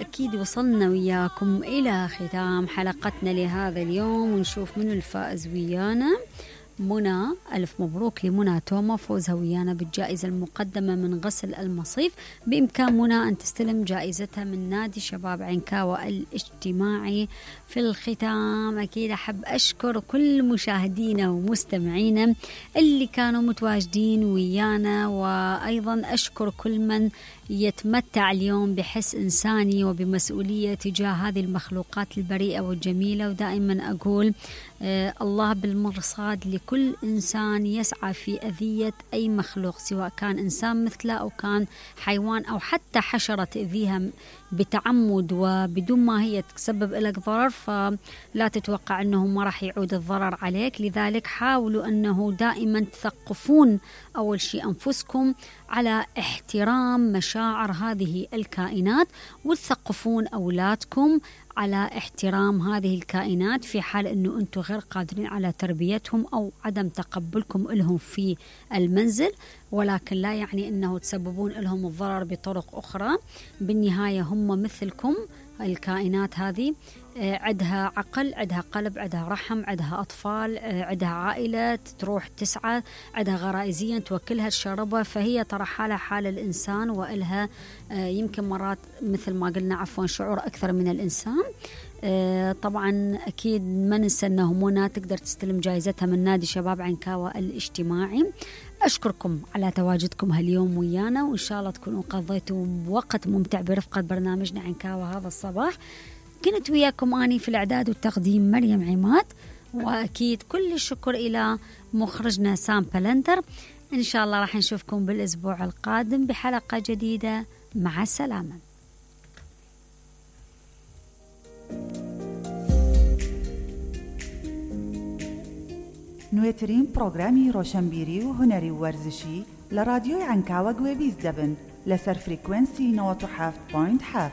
وأكيد وصلنا وياكم إلى ختام حلقتنا لهذا اليوم، ونشوف منو الفائز ويانا. منى، ألف مبروك لمنى توما، فوزها ويانا بالجائزة المقدمة من غسل المصيف. بإمكان منى أن تستلم جائزتها من نادي شباب عنكاوة الاجتماعي. في الختام أكيد أحب أشكر كل مشاهدينا ومستمعينا اللي كانوا متواجدين ويانا، وأيضا أشكر كل من يتمتع اليوم بحس إنساني وبمسؤولية تجاه هذه المخلوقات البريئة والجميلة. ودائما أقول الله بالمرصاد لكل إنسان يسعى في أذية أي مخلوق، سواء كان إنسان مثله أو كان حيوان أو حتى حشرة تأذيها بتعمد وبدون ما هي تسبب لك ضرر، فلا تتوقع أنه ما راح يعود الضرر عليك. لذلك حاولوا أنه دائما تثقفون أول شيء أنفسكم على احترام مشاعر هذه الكائنات، وتثقفون أولادكم على احترام هذه الكائنات في حال أنه أنتم غير قادرين على تربيتهم أو عدم تقبلكم لهم في المنزل، ولكن لا يعني أنه تسببون لهم الضرر بطرق أخرى. بالنهاية هم مثلكم، الكائنات هذه عندها عقل، عندها قلب، عندها رحم، عندها أطفال، عندها عائلة تروح تسعى، عندها غرائزيا توكلها تشربها، فهي ترى حالها حال الإنسان، وإلها يمكن مرات مثل ما قلنا عفوا شعور أكثر من الإنسان. طبعا أكيد ما ننسى أنه منى تقدر تستلم جائزتها من نادي شباب عنكاوة الاجتماعي. أشكركم على تواجدكم هاليوم ويانا، وإن شاء الله تكونوا قضيتوا وقت ممتع برفقة برنامجنا عنكاوة هذا الصباح. كنت وياكم أني في الإعداد والتقديم مريم عماد، وأكيد كل الشكر إلى مخرجنا سام بلندر. إن شاء الله راح نشوفكم بالأسبوع القادم بحلقة جديدة. مع السلامة. نوێترین پرۆگرامی ڕۆشنبیری و هونەری و وەرزشی لە رادیۆی عنکاوە گوێبیست دەبن لەسەر فریکوێنسی 97.7.